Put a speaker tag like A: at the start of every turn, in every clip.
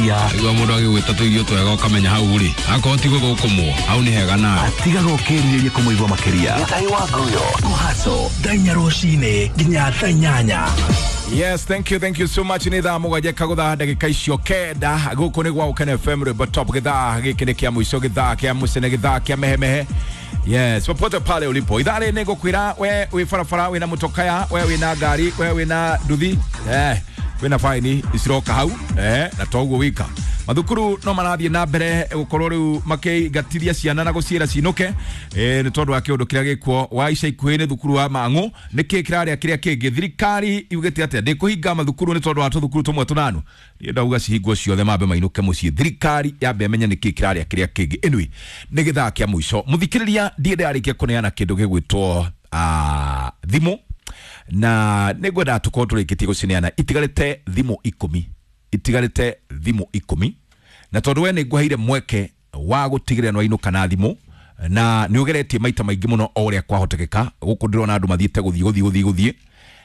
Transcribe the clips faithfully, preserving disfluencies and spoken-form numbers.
A: Makĩria.
B: Igua mũndũ agĩgwĩta tũirio twega ũkamenya hau rĩ akorwo ti gũthũkũmwo hau nĩ hega nawe.
A: Tigaga ũkĩrirĩria kũmũigua makĩria. Gĩtahi wa Nguyo Kũhaco thaa inya rũcinĩ nginya thaa inyanya.
C: Yes, thank you, thank you so much. Nĩ thaa mũgwanja kagũtha ndagĩka icio kenda. Gũkũ nĩ gwa Ũkene F M rwĩmbo top. Gĩthaa gĩkĩ nĩ kĩa mũico, gĩthaa kĩa mũcene, gĩthaa kĩa mehemehe. Yes, popote pale ulipo. Ithaa rĩrĩ nĩngũkwĩra we wĩ barabara, wĩna mũtokaya, we wĩna ngari, we wĩna nduthi, eh, wĩna faini iciroka hau, eh, na toguo wika. Mathukuru no marathiĩ na mbere gũkorwo rĩu makĩingatithia ciana na gũciĩra cinũke, eh, nĩ tondũ wa kĩũndũ kĩrĩa gĩkuo wa ica ikuhĩ nĩ thukuru wa Mang'u. Nĩkĩ kĩrarĩa kĩrĩa kĩngĩ? Thirikari yugĩte atĩa? Ndĩkũhinga mathukuru nĩ tondũ wa tũthukuru tũmwe tũnanu. Niĩ ndauga cihingwo ciothe mambe mainũke mũciĩ. Thirikari yambe ĩmenye nĩkĩ kĩrarĩa kĩrĩa kĩngĩ. Anyway, nĩ gĩthaa kĩa mũico. Mũthikĩrĩria, ndiĩ ndĩrarĩkia kũneana kĩndũ gĩgwĩtwo, ah, thimũ, na nĩngwenda tũkorwo tũrĩkĩtie gũcineana. Itigarĩte thimũ ikũmi, itigarĩte thimũ ikũmi, na tondũ we nĩngũheire mweke wa gũtigĩrĩra nĩwainũka na thimũ, na nĩũgeretie maita maingĩ mũno o ũrĩa kwahotekeka. Gũkũ ndĩrona andũ mathiĩte gũthiĩ, gũthiĩ, gũthiĩ, gũthiĩ.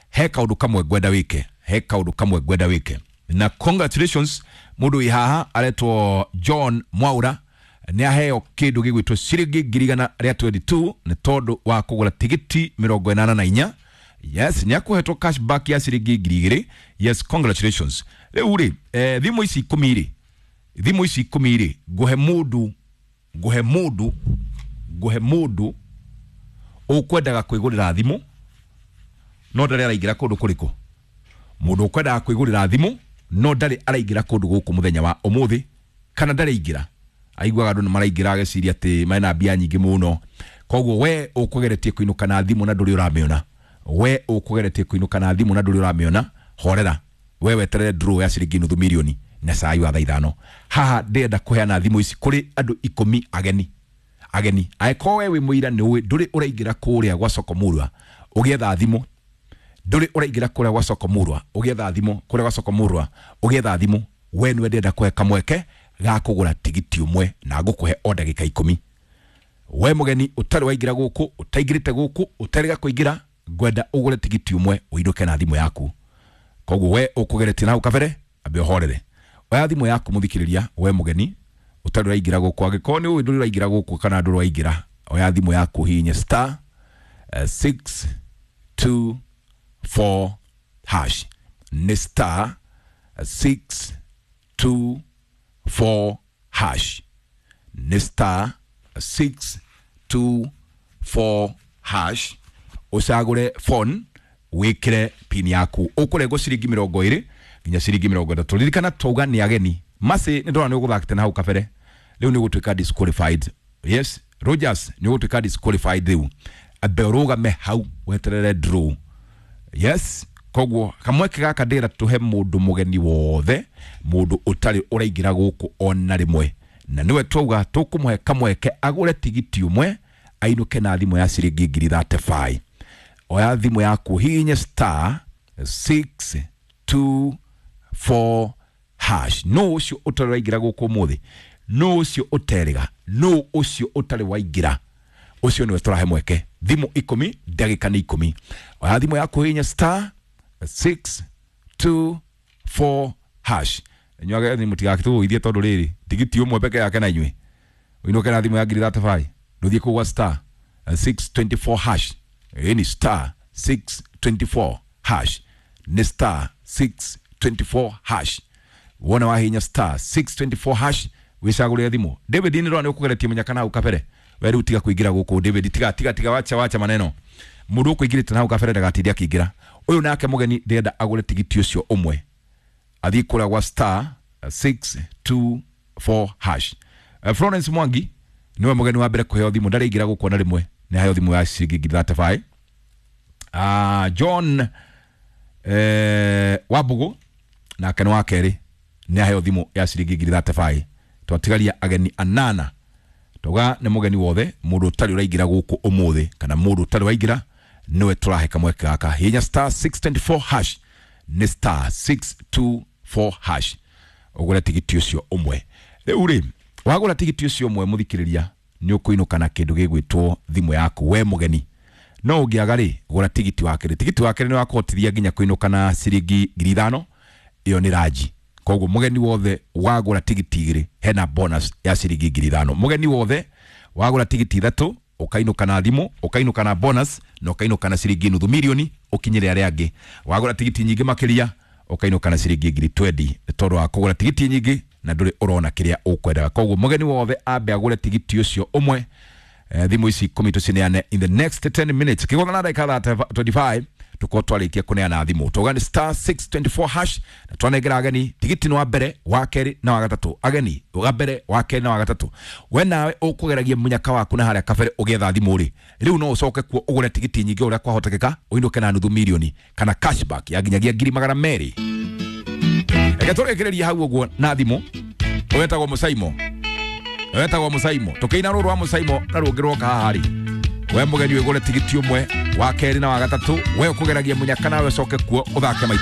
C: He kaũndũ kamwe ngwenda wĩke, he kaũndũ kamwe ngwenda wĩke. Na congratulations, mũndũ wĩ haha aretwo John Mwaura nĩ aheo kĩndũ gĩgwĩtwo ciringi ngiri igana rĩa twenty-two nĩ tondũ wa kũgũra tigiti mĩrongo ĩnana na inya. Yes, nĩ akũhetwo cashback ya ciringi ngiri igĩrĩ. Yes, congratulations. Rĩu rĩ, eh, thimũ ici ikũmi rĩ, thimũ ici ikũmi rĩ, ngũhe mũndũ, ngũhe mũndũ, ngũhe mũndũ ũkwendaga kwĩgũrĩra thimũ no ndarĩ araingĩra kũndũ kũrĩkũ. Mũndũ ũkwendaga kwĩgũrĩra thimũ no ndarĩ araingĩra kũndũ gũkũ mũthenya wa ũmũthĩ, kana ndarĩ aingĩra. Aiguaga andũ nĩ maraingĩra ageciria atĩ mena mbia nyingĩ mũno. Koguo we ũkũgeretie kũinũka na thimũ na ndũrĩ ũramĩona, we ũkũgeretie kũinũka na thimũ na ndũrĩ ũramĩona, horera. We weterere draw ya ciringi nuthu milioni na cai wa thaa ithano. Haha ndĩrenda kũheana thimũ ici kũrĩ andũ ikũmi ageni. Ageni. Angĩkorwo we wĩ mũira nĩ ũĩ ndũrĩ ũraingĩra kũrĩa gwa Soko Murwa ũgĩetha thimũ, ndũrĩ ũraingĩra kũrĩa gwa Soko Murwa ũgĩetha thimũ, kũrĩa gwa Soko Murwa ũgĩetha thimũ, we nĩwe ndĩrenda kũhe kamweke ga kũgũra tigiti ũmwe na ngũkũhe o ndagĩka ikũmi. We mũgeni ũtarĩ waingĩra gũkũ, ũtaingĩrĩte gũkũ, ũtarĩga kũingĩra, ngwenda ũgũre tigiti ũmwe ũinũke na thimũ yaku. Koguo we ũkũgeretie na hau kabere, ambe ũhorere. Oya thimũ yaku mũthikĩrĩria, we mũgeni ũtarĩ ũraingĩra gũkũ, angĩkorwo nĩ ũĩ ndũrĩ ũraingĩra gũkũ kana ndũrĩ waingĩra, oya thimũ yaku hihinye star, eh, six two four hash. Nĩ star six two four hash. Nĩ star six two four hash. Ũcagũre phone, wĩkĩre pin yaku. Ũkũrengwo ciringi mĩrongo ĩrĩ nginya ciringi mĩrongo ĩtatũ. Ririkana twauga nĩ ageni. Masi nĩ ndona nĩ ũgũthakĩte na hau kabere, rĩu nĩ ũgũtuĩka disqualified. Yes, Rogers nĩ ũgũtuĩka disqualified rĩu. Ambe ũrũgame hau weterere draw. Yes, koguo kamweke gaka ndĩrenda tũhe mũndũ mũgeni wothe, mũndũ ũtarĩ ũraingĩra gũkũ ona rĩmwe, na nĩwe twauga tũkũmũhe kamweke agũre tigiti ũmwe ainũke na thimũ ya ciringi ngiri thirty-five. Oya thimũ yaku hihinye star six two four hash. No ũcio ũtarĩ waingĩra gũkũ ũmũthĩ, no ũcio ũterĩga, no ũcio ũtarĩ waingĩra, ũcio nĩwe tũrahe mweke. Thimũ ikũmi, ndagĩka nĩ ikũmi. Oya thimũ yaku hihinye star six two four hash. Inyuĩ ageni mũtigakĩtũgũithie tondũ rĩrĩ tigiti ũmwe peke yake na inyuĩ ũinũke na thimũ ya ngiri thirty-five. Ndũthiĩ kũu gwa star six twenty-four hash. Ĩĩ ni star six twenty-four hash. Ni star six twenty-four hash. Wona wahinya star six twenty-four hash wicagũrĩre thimũ. David nĩ ndĩrona nĩ ũkũgeretie mũnyaka na hau kabere. We rĩu tiga kũingĩra gũkũ David, tiga, tiga, tiga, wacha, wacha maneno. Mũndũ ũkũingĩrĩte na hau kabere ndagatinde akĩingĩra. Ũyũ nake mũgeni ndĩrenda agũre tigiti ũcio ũmwe. Athiĩ kũrĩa gwa star six two four hash. Eh, Florence Mwangi niwe mũgeni wa mbere kũheo thimũ, ndarĩ aingĩra gũkũ ona rĩmwe, nĩ aheo thimũ ya ciringi ngiri thirty-five. Ah, John, eh, Wambugu nake nĩ wa kerĩ, nĩ aheo thimũ ya ciringi ngiri thirty-five. Twatigaria ageni anana. Tauga nĩ mũgeni wothe, mũndũ ũtarĩ ũraingĩra gũkũ ũmũthĩ kana mũndũ ũtarĩ waingĩra nĩwe tũrahe kamweke gaka. Hihinya star six twenty-four hash. Nĩ star six two four hash. Ũgũre tigiti ũcio ũmwe. Rĩu rĩ, wagũra tigiti ũcio ũmwe mũthikĩrĩria, nĩ ũkũinũka na kĩndũ gĩgwĩtwo thimũ yaku we mũgeni. No ũngĩaga rĩ, gũra tigiti wa kerĩ. Tigiti wa kerĩ nĩ wakũhotithia nginya kũinũka na ciringi ngiri ithano. Ĩyo nĩ ranji. Koguo mugeni wothe wagura tigiti igiri hena bonus ya ciringi ngiri ithano. Mugeni wothe wagura tigiti ithatu ukainuka na thimu, ukainuka na bonus na ukainuka na ciringi nuthu milioni ukinyire aria angi. Wagura tigiti nyingi makiria ukainuka na ciringi ngiri twendi tondu wa kugura tigiti nyingi na nduri urona kiria ukwendaga. Koguo mugeni wothe ambe agure tigiti ucio umwe. Eh, thimu ici ikumi tucineane in the next ten minutes kigotha na ndagika twenty-five tukorwo twarikia kuneana thimu. Tuga ni star six twenty-four hash na twanengera ageni tigiti ni wa mbere, wa keri na wa gatatu. Ageni wa mbere, wa keri na wa gatatu. We nawe ukugeragia munyaka waku na haria kabere ugietha thimu ri riu no ucoke kuo ugure tigiti nyingi uria kwahotekeka uinuke na nuthu milioni kana cashback ya nginyagia ngiri magana meri. Reke tũrĩkĩrĩrie hau ũguo na thimũ. Wetagwo Mũcaimo, wetagwo Mũcaimo, tũkĩina rũrũ rwa Mũcaimo na rũngĩ rwoka haha rĩ, we mũgeni wĩgũre tigiti ũmwe, wa kerĩ na wa gatatũ. We ũkũgeragia mũnyaka nawe ũcoke kuo ũthake maita